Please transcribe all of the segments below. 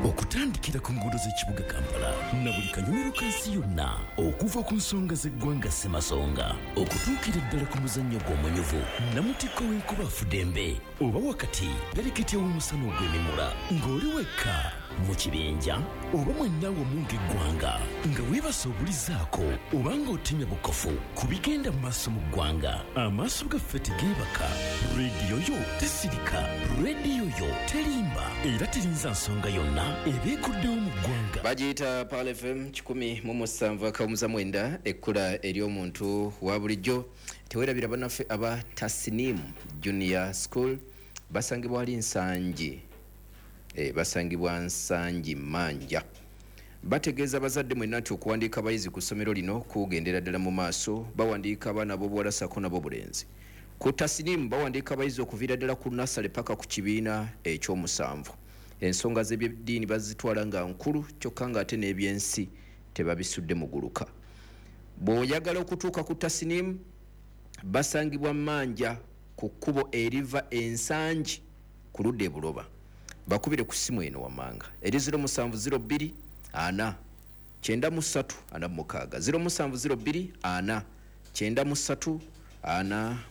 Okutandikira ku nguudo z'ekibuga Kampala na buli kanyomero ka nsi yonna, okuva ku nsonga z'eggwanga Ssemasonga okutuukira ddala ku muzannyo gw'omunyuvu namutikko w'enkuba afudembe, oba wakati pereketya w'omusana ogw'emimula, ng'oli wekka mu kibinja oba mwenna wamu ng'eggwanga, nga weebasa obulizaako oba ng'otemya bukofu ku bigenda mu maaso mu ggwanga, amaaso gaffe tegeebaka, rediyo yo tesirika, rediyo yo terimba era terinza nsonga yonna ebeekuddewo mu ggwanga. Bagiyita Pearl FM 107.9, ekkula ery'omuntu wa bulijjo. Tewerabira bannaffe aba Tasnim Junior School, basangibwa wali Nsangi, basangibwa Nsangi Manja. Bategeeza abazadde mwenna nti okuwandiika abayizi ku ssomero lino kugendera ddala mu maaso. Bawandiika abaana ab'obuwala ssaako n'ab'obulenzi. Ku Tasnim bawandiika abayizi okuviira ddala ku nasale paka ku kibiina ekyomusanvu. Ensonga z'ebyeddiini bazitwala nga nkulu, kyokka ng'ate n'ebyensi tebabisudde muguluka. Bw'oyagala okutuuka ku Tasnim, basangibwa Manja ku kkubo eriva Ensangi ku ludda e Buloba. Bakubire ku ssimu eno wammanga eri 0702 4 93 46, 0702 4 93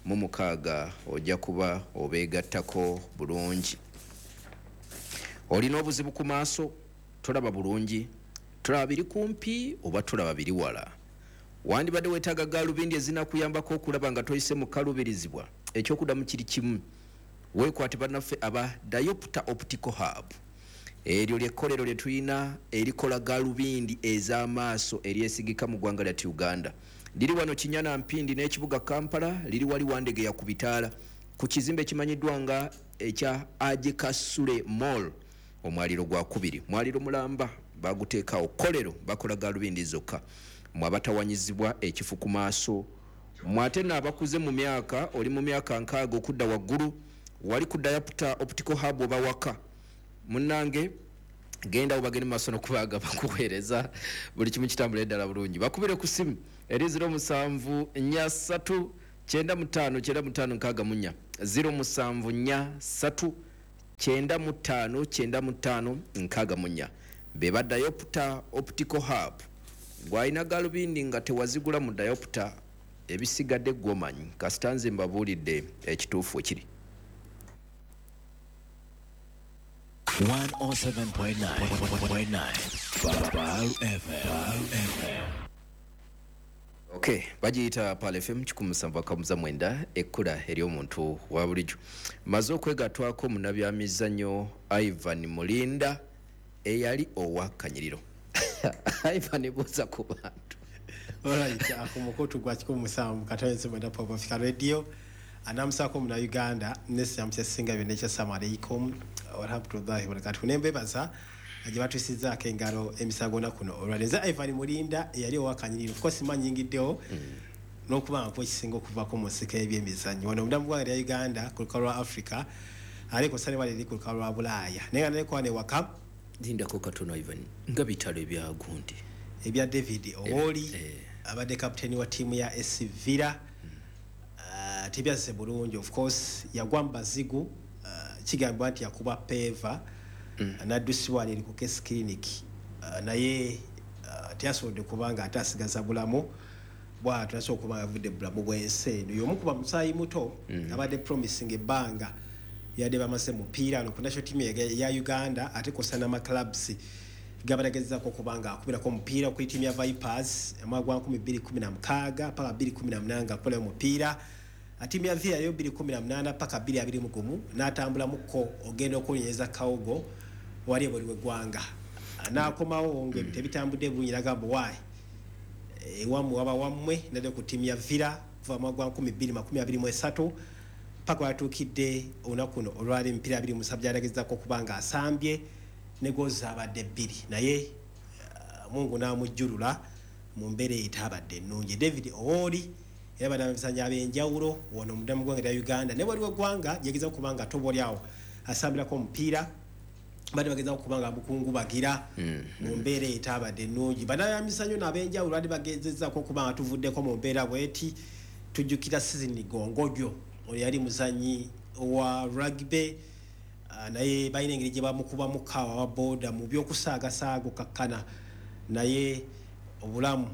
46, ojja kuba obeegattako bulungi. Olina obuzibu ku maaso, tolaba bulungi, tolaba biri kumpi oba tolaba biri wala, wandibadde weetaaga gaalubindi ezinakuyambako okulaba nga toyise mu kaluubirizibwa. Ekyokuddamu kiri kimu, weekwate bannaffe aba Diopter Optical Hub. Eryo lyekkolero lye tulina erikola gaalubindi ez'amaaso eryesigika mu ggwanga lyattu Uganda. Liri wano Kinyana Mpindi n'ekibuga Kampala, liri wali Wandegeya ku bitaala ku kizimbe ekimanyiddwa nga ekya Ajekasule Mall, omwaliro gwa kubiri, mwaliro mulamba baguteekaawo. Kkolero bakola gaalubindi zokka mwe abatawanyizibwa ekifu ku maaso, mwe ate naabakuze mu myaka, oli mu myaka 60 okudda waggulu, wali ku Diopter Optical Hub oba waka munnange, genda obagende mu maaso n'okubaaga bakuweereza buli kimu kitambula eddala bulungi. Bakubire ku ssimu eri 0743 95 95 64, 0743 95 95 64. Be ba Diopter Optical Hub. Gwalina galubindi nga tewazigula mu Diopter, ebisigadde gwomanyi, kasita nze mbabuulidde ekituufu ekiri. 107.9 Pearl FM. Okay, bagiyita Pearl FM 107.9, ekkula ery'omuntu wa bulijjo. Maze okwegattwako munnabyamizannyo Ivan Mulinda eyali owa Kanyiriro. Ivan, buuza ku bantu. Alright, ku mukutu gwa 107.9 Pop Africa Radio, anamusaako Munnayuganda nesiramu kyasinga byonna ekyassalamu alaikum warahmatullahi wabarakatuh. Nembebaza gye batusizaako engalo emisango kuno olwaleero. Nze Ivan Mulinda eyali owa Kanyiriro. Of course manyingiddewo n'okuba nga ekisinga okuvako mu nsiko y'ebyemizannyo wano munda mu ggwanga lya Uganda, ku lukalu lwa Africa, ate ku ssane wali eri ku lukalu lwa Bulaaya, naye nga nalekuwa ne waka. Lindako katono Ivan, nga bitalo ebya gundi ebya David Owoli, abadde kapiteeni wa ttiimu ya SC Villa, tebyazze bulungi. Of course yagwa mu bazigu, kigambibwa nti yakuba peva, n'addusibwa eri ku Case Clinic, naye teyasobodde kubanga ate asigaza bulamu bwatyo, asobola okuba nga avudde bulamu bw'ensi eno. Y'omu kuba musaayi muto abadde promising ebbanga yadde bamaze mupiira ano ku national team ya Uganda, ate kosa n'amaclubs gabalagezaako okuba nga akubirako omupiira okuli ttiimu ya Vipers omwaka gwa 2016 paka 2018 nga akubirayo omupiira, ttiimu ya Villa yo 2018 paka 2021, n'atambulamuko ogenda okuwonyereza Kawogo wali ebweru w'eggwanga, n'akomawo nga ebintu ebitambudde bulungi, nagamba waayi ewammwe waba wammwe, nadde ku ttiimu ya Villa kuva mu mwaka gwa 2023 paka watuukidde olunaku kuno olwali emipiira 27 gyalagezaako okuba nga asambye ne goals abadde bbiri, naye Mungu n'amujjulula mu mbeera etaabadde ennungi. David Owoli era bannamizannyo ab'enjawulo wano munda mu ggwanga lya Uganda ne waliwo eggwanga gyegeza okuba nga toba oli awo asambirako omupiira, badde bagezaako okuba nga mukungubagira mu mbeera etaabadde ennungi. Bannamizannyo n'ab'enjawulo badde bagezezzaako okuba nga tuvuddeko mu mbeera bweti. Tujjukira Sizini Gongodyo, oyo yali muzannyi wa rugby. Naye balina engeri gye bamukubamu kaawa wa boda mu by'okusaagasaaga okakkana, naye obulamu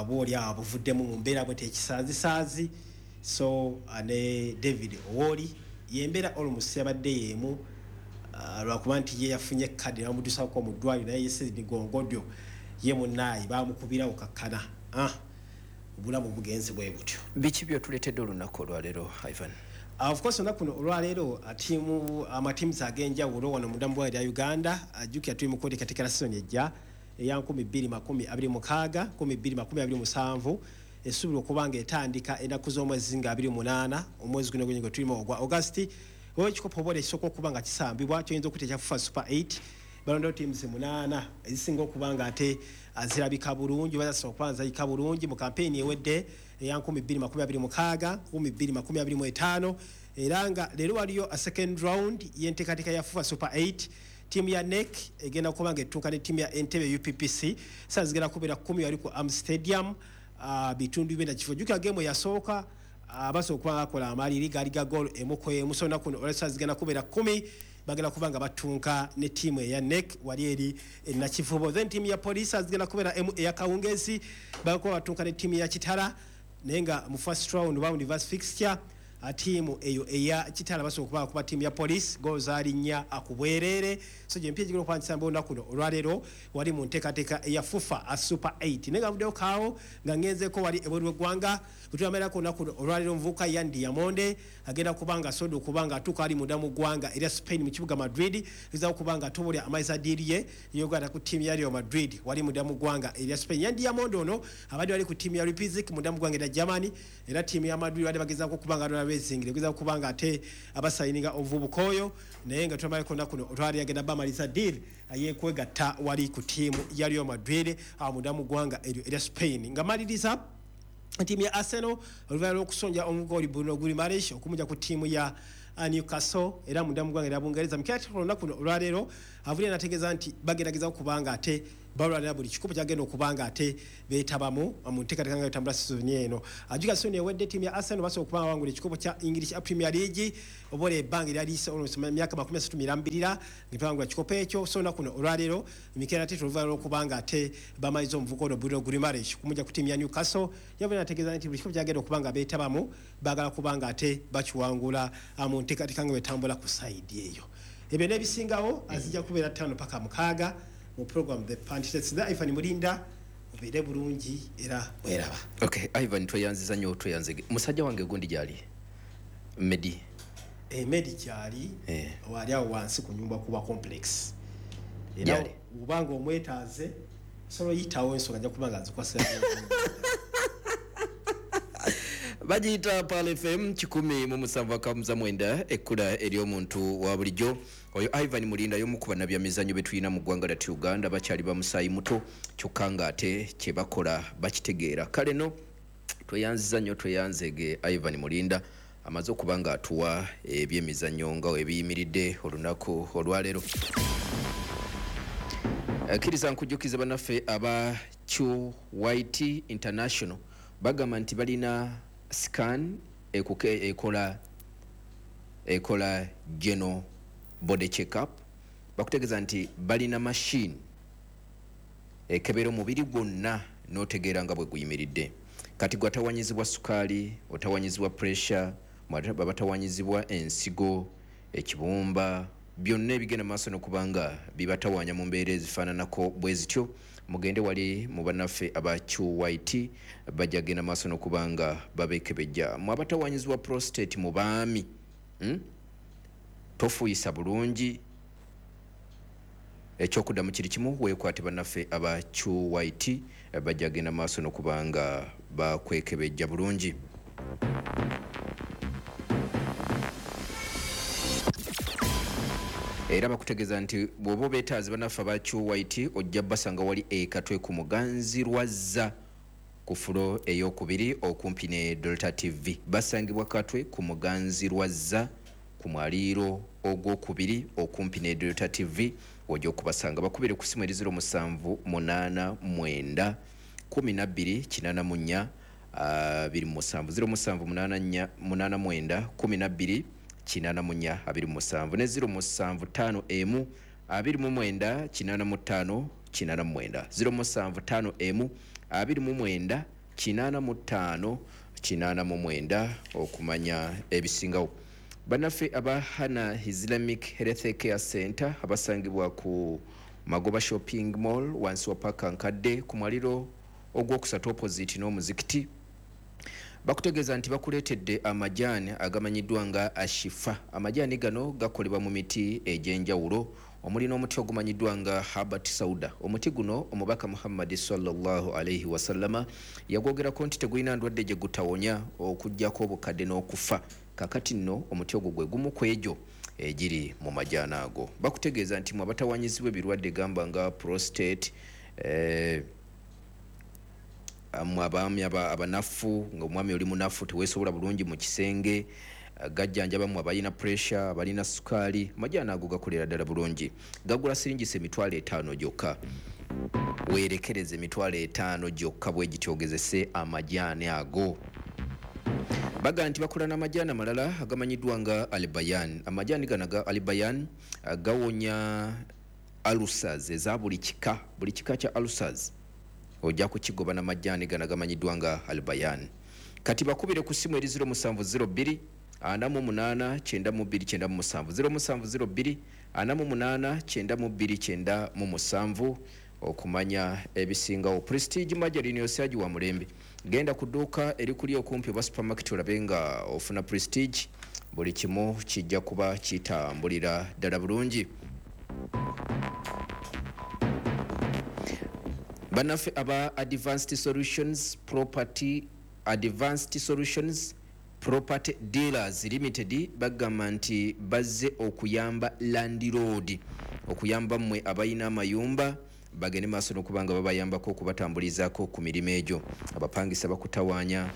bwoli awo buvuddemu mu mbeera bwe tekisaazisaazi. So ne David Owori yembeera almost yabadde y'emu, lwakuba nti ye yafunye kadi bamudusako mu ddwaliro, naye ye Sydney Gongodyo ye munnaayi bamukubirawo kakkana. Obulamu bugenze bwe butyo. Biki byotuleetedde olunaku olwaleero, Ivan? Of course, olunaku luno olwaleero tiimu, amatiimu ag'enjawulo wano munda mu ggwanga lya Uganda. Jjukira tuli mu kweteekateekera season ejja eya 2026 2027, esuubirwa okuba nga etandika ennaku z'omwezi nga 28 omwezi guno gwennyini gwe tulimu ogwa August. Oba ekikopo oba ekisooka okuba nga kisambibwa kyoyinza okuyita ekya FUFA Super 8, balondawo teams 8 ezisinga okuba nga ate zirabika bulungi oba zasobola okuba nga zirabika bulungi mu kampeyini ewedde eya 2026 2025. Era nga leero waliyo a second round y'enteekateeka ya FUFA Super 8. Ttiimu ya NEC egenda kuba nga ettuuka ne ttiimu ya Entebbe UPPC, saa zigenda kubeera 10 wali ku Am Stadium, bitundu byenda kifo. Jjukira game eyasooka basobola okuba nga bakola amaliri gaali ga goal emu ku emu. So olunaku luno olwa zigenda kubeera 10 bagenda kuba nga batunka ne ttiimu eya NEC wali eri Nakivubo. Then ttiimu ya Police zigenda kubeera emu eya kawungezi bagenda kuba batunka ne ttiimu ya Kitara, naye nga mu first round round reverse fixture ttiimu eyo eya Kitara basobola okuba kuba ttiimu ya Police goal zaali 4 ku bwereere. So gye mpya egigenda okuba nkisamba olunaku luno olwaleero wali mu nteekateeka eya FUFA a Super 8. Naye nga nvuddeyo kaawo nga ngenzeeko wali ebweru w'eggwanga, bwe olunaku luno olwaleero omuvubuka Yan Diamonde agenda kuba nga asobodde okuba nga atuuka ali munda mu ggwanga erya Spain mu kibuga Madrid, gezaako okuba nga atobolya amaliza deal ye ey'okugatta ku ttiimu ya Real Madrid wali munda mu ggwanga erya Spain. Yan Diamonde ono abadde wali ku ttiimu ya Leipzig munda mu ggwanga erya Germany, era ttiimu ya Madrid badde bagezaako okuba nga racing gezaako okuba nga ate abasayininga omuvubuka oyo, naye nga tulamaleko olunaku luno olwaleero agenda bamaliza deal ey'okwegatta wali ku ttiimu ya Real Madrid awo munda mu ggwanga eryo erya Spain. Nga maliriza, ttiimu ya Arsenal oluvannyuma lw'okusonja omugooli Bruno Guimaraes okumugya ku ttiimu ya Newcastle era munda mu ggwanga erya Bungereza, Mikel Arteta olunaku luno olwaleero avudde n'ategeeza nti bagenda okuba nga ate balwanira buli kikopo kyagenda okuba nga ate beetabamu mu nteekateeka nga etambula sizoni eno. Ajjuka sizoni ewedde ttiimu ya Arsenal basobola okuba nga bawangula ekikopo kya English Premier League, oba olwo ebbanga eryaliise almost emyaka 30 mirambirira nga tebawangula kikopo ekyo. So olunaku luno olwaleero Mikel Arteta oluvannyuma lw'okuba nga ate bamaliza omuvubuka ono Bruno Guimaraes kumugya ku ttiimu ya Newcastle, yavudde n'ategeeza nti buli kikopo kyagenda okuba nga beetabamu baagala kuba nga ate bakiwangula mu nteekateeka nga bwetambula ku side eyo. Ebyo n'ebisingawo azijja kubeera 5 paka 6 mu program The Pundits. Ivan Mulinda, obeere bulungi era mweraba. Okay, Ivan, tweyanziza nnyo, tweyanzige. Musajja wange gundi gyali Medi? Medi gyali. Wali awo wansi ku nyumba kuba complex era Gyali. obanga omwetaaze osobola oyitawo, ensonga ajja kuba nga nzikwasa. Bagiyita Pal FM 107.9, ekkula ery'omuntu wa bulijjo. Oyo Ivan Mulinda y'omu ku bannabyamizannyo be tulina mu ggwanga lyattu Uganda, bakyali bamusaayi muto kyokka ng'ate kye bakola bakitegeera. Kale no tweyanziza nnyo, tweyanzege Ivan Mulinda amaze okuba nga atuwa ebyemizannyo nga ebiyimiridde olunaku olwaleero. Kkiriza nkujjukize bannaffe aba QYT International bagamba nti balina scan ekola general body checkup. Bakutegeeza nti balina machine ekebera omubiri gwonna n'otegeera nga bwe guyimiridde. Kati gwe atawanyizibwa sukaali, otawanyizibwa pressure, batawanyizibwa ensigo, ekibumba, byonna ebigenda maaso n'okuba nga bibatawanya mu mbeera ezifaananako bwe zityo, mugende wali mu bannaffe aba QYT, bajja genda maaso n'okuba nga babekebejja. Mu abatawanyizibwa prostate mu baami, Tofuuyisa bulungi, ekyokuddamu kiri kimu, weekwate bannaffe aba QYT, bajja genda maaso n'okuba nga bakwekebejja bulungi. Era bakutegeeza nti bw'oba obeetaaze bannaffe aba QYT ojja basanga wali e Katwe ku Muganzi Lwazza ku floor eyokubiri okumpi ne Delta TV. Basangibwa Katwe ku Muganzi Lwazza ku mwaliiro ogwokubiri okumpi ne Delta TV wojja okubasanga. Bakubire ku simu eri 0789 12 84 27, 0784 89 12 84 27 ne 0751 29 85 89 0751 29 85 89 okumanya ebisingawo. Bannaffe aba Hana Islamic Health Care Center abasangibwa ku Magoba Shopping Mall wansi wa paka nkadde ku mwaliro ogwokusatu opposite n'omuzikiti bakutegeeza nti bakuleetedde amajaani agamanyiddwa nga Ashifa. Amajaani gano gakolebwa mu miti egy'enjawulo omuli n'omuti ogumanyiddwa nga Habat Sauda. Omuti guno omubaka Muhammad sallallahu alaihi wasallama yagwogerako nti tegulina ndwadde gye gutawonya okuggyako obukadde n'okufa. Kakati nno omuti ogwo gwe gumu ku egyo egiri mu majaani ago. Bakutegeeza nti mwe abatawanyizibwa ebirwadde gamba nga prostate, abaami abanafu, nga omwami oli munafu teweesobola bulungi mu kisenge, gajjanjaba mu abalina pressure, abalina sukaali. Amajaani ago gakolera ddala bulungi. Gagula siringisa 50,000 gyokka. Weerekereze 50,000 gyokka bwe gityo ogezese amajaani ago. Baga nti bakola n'amajaani amalala agamanyiddwa nga Albayan. Amajaani gano aga Albayan gawonya ulcers eza buli kika, buli kika kya ulcers ojja kukigoba n'amajaani gano agamanyiddwa nga Albayan. Kati bakubire ku ssimu eri 0702 48 92 97 0702 48 92 97 okumanya ebisingawo. Prestige Margarine osyaji wa mulembe. Genda ku dduuka erikuli okumpi oba supermarket olabe nga ofuna Prestige, buli kimu kijja kuba kitambulira ddala bulungi. Bannaffe aba Advanced Solutions Property Dealers Limited bagamba nti bazze okuyamba landlord, okuyamba mmwe abalina amayumba bagende maaso n'okuba nga babayambako okubatambulizaako ku mirimu egyo. Abapangisa bakutawaanya.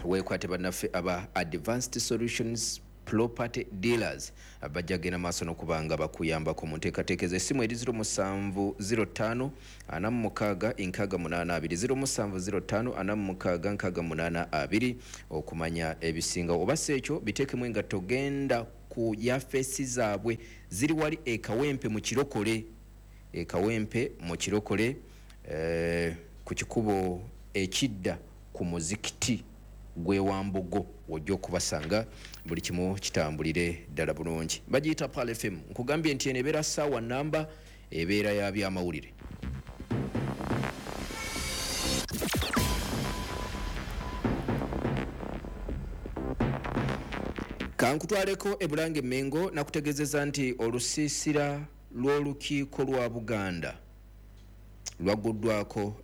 Weekwate bannaffe aba Advanced Solutions Property Dealers bajja genda maaso n'okuba nga bakuyambako mu nteekateeka ezo. Essimu eri 0705 46 682 0705 46 682 okumanya ebisingawo. Oba si ekyo biteekemu engatto, genda ku yafeesi zaabwe ziri wali e Kawempe mu Kirokole, e Kawempe mu Kirokole, ku kikubo ekidda ku muzikiti gw'ewambugo w'ojja okubasanga, buli kimu kitambulire ddala bulungi. Bagiyita Pearl FM. Nkugambye nti eno ebeera ssaawa namba, ebeera ya byamawulire. Kankutwaleko e Bulange Mengo nakutegeezeza nti olusiisira lw'olukiiko lwa Buganda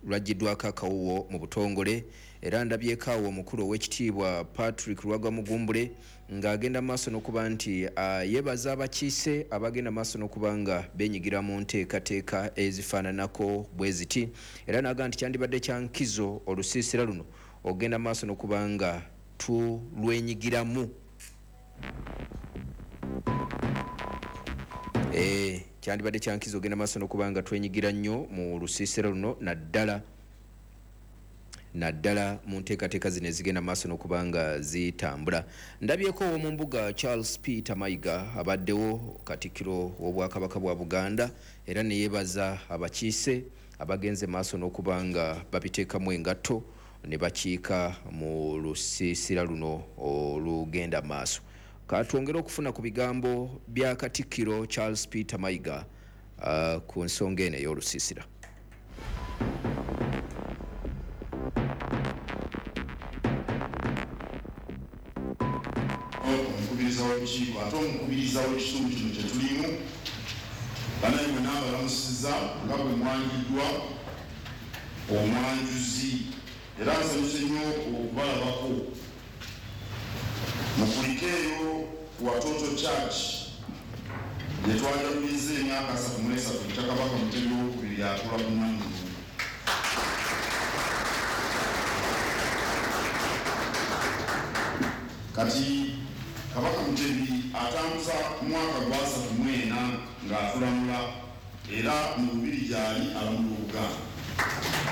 lwaggiddwako akawuwo mu butongole, era ndabyeko awo omukulu ow'ekitiibwa Patrick Lwagwa Mugumbule ng'agenda maaso n'okuba nti yeebaza abakiise abagenda maaso n'okuba nga beenyigira mu nteekateeka ezifaananako bwe ziti, era n'agamba nti kyandibadde kya nkizo olusiisira luno ogenda maaso n'okuba nga tulwenyigiramu. Kyandibadde kya nkizo ogenda maaso n'okuba nga twenyigira nnyo mu lusiisira luno, naddala mu nteekateeka zino ezigenda maaso n'okuba nga zitambula. Ndabyeko ow'omu mbuga Charles Peter Mayiga abaddewo katikkiro w'Obwakabaka bwa Buganda, era ne yeebaza abakiise abagenze maaso n'okuba nga babiteekamu engatto ne bakiika mu lusiisira luno olugenda maaso. Katwongere okufuna ku bigambo bya katikkiro Charles Peter Mayiga ku nsonga eno ey'olusiisira. Omukubiriza w'olukiiko ate omukubiriza w'ekitundu kino kye tulimu, bannange mwenna abalamusizza nga bwe mwanjuddwa omwanjuzi, era nsanyuse nnyo okubalabako. Mukulikeeyo ku Watoto Church gye twajaguliza emyaka 33 ekya Kabaka Mutebi owokubiri atuula ku Namugongo. Kati Kabaka Mutebi atambuza mwaka gwa 34 ng'atulamula, era mu lubiri gy'ali alamula Obuganda.